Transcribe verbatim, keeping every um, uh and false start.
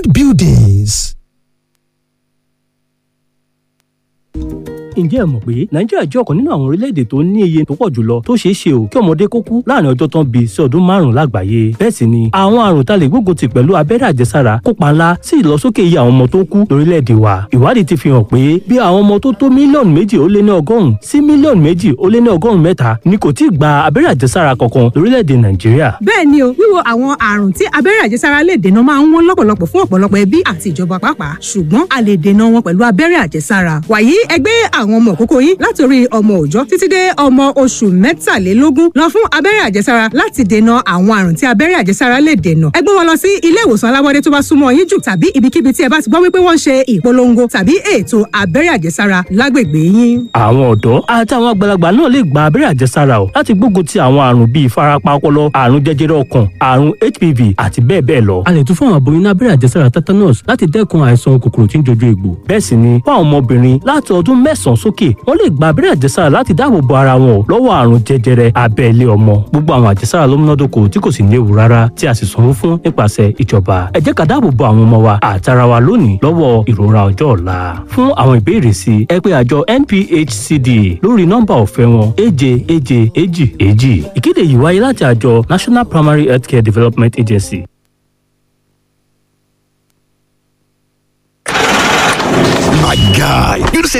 Bond Buildings. Ǹjẹ́ ẹ mọ̀ pé Nàìjíríà jẹ́ ọ̀kan nínú àwọn orílẹ̀-èdè tó ní iye tó pọ̀ jùlọ tó ṣeé ṣe o kí ọmọdé kó kú láàrin ọjọ́ tán bí sí ọdún márùn-ún lágbàáyé? Bẹ́ẹ̀ sì ni àwọn àrùn tá lè gbógun tì pẹ̀lú abẹ́rẹ́ àjẹsára kópa ńlá sí ìlọsókè iye àwọn ọmọ tó kú lórílẹ̀-èdè wa. Ìwádìí ti fi hàn pé bí àwọn ọmọ tó tó mílíọ̀nù méjì ó lé ní ọgọ́rùn-ún sí mílíọ̀nù méjì ó lé ní ọgọ́rùn-ún mẹ́ta ni kò tíì gba abẹ́rẹ́ àjẹsára kankan lórílẹ̀-èdè Nàìjíríà. Bẹ́ẹ̀ ni o, wíwo àwọn àrùn tí abẹ́rẹ́ àjẹsára lè dènà máa ń wọ́n lọ́pọ̀lọpọ̀ fún ọ̀pọ̀lọpọ̀ ẹbí àti ìjọba pàápàá, ṣùgbọ́n a lè dènà wọn pẹ̀lú abẹ́rẹ́ àjẹsára. Wàyí, ẹgbẹ́ àwọn ọmọ òkókó yín látòrí ọmọ òòjọ́ títí dé ọmọ oṣù mẹ́tàlélógún lọ fún abẹ́rẹ́ àjẹsára láti dènà àwọn àrùn tí abẹ́rẹ́ àjẹsára lè dènà. Ẹ gbé wọn lọ sí ilé ìwòsàn alábọ́dé tó bá súnmọ́ yín jù tàbí ibikíbi tí ẹ bá ti gbọ́ wípé wọ́n ń ṣe ìpolongo tàbí ètò abẹ́rẹ́ àjẹsára lágbègbè yín. Àwọn ọ̀dọ́ àti àwọn àgbàlagbà náà lè gba abẹ́rẹ́ àjẹsára o láti gbógun ti àwọn àrùn bíi ìfarapa ọpọlọ, àrùn jẹjẹrẹ ọkàn, àrùn H P V àti bẹ́ẹ̀ bẹ́ẹ̀ lọ. A lè tún fún àwọn aboyún ní abẹ́rẹ́ àjẹsára tetanus láti dẹ́kun àìsàn kòkòrò tí ń jojú egbò. Bẹ́ẹ̀ sì ni fún àwọn ọmọbìnrin láti ọdún mẹ́sàn-án sókè, wọ́n lè gba abẹ́rẹ́ àjẹsára láti dáàbò bo ara wọn lọ́wọ́ àrùn jẹjẹrẹ abẹ́ ilé ọmọ. Gbogbo àwọn àjẹsára ló múnádóko tí kò sì léwu rárá, tí a sì sanwó fún nípasẹ̀ ìjọba. Ẹ jẹ́ ká dáàbò bo àwọn ọmọ wa àtara wa lónìí lọ́wọ́ ìrora ọjọ́ ọ̀la. Fún àwọn ìbéèrè sí, ẹ pé àjọ N P H C D lórí nọ́mbà ọ̀fẹ́ wọn, èje èje èjì èjì. Ìkéde yìí wáyé láti àjọ National Primary Healthcare Development Agency. My guy, you know say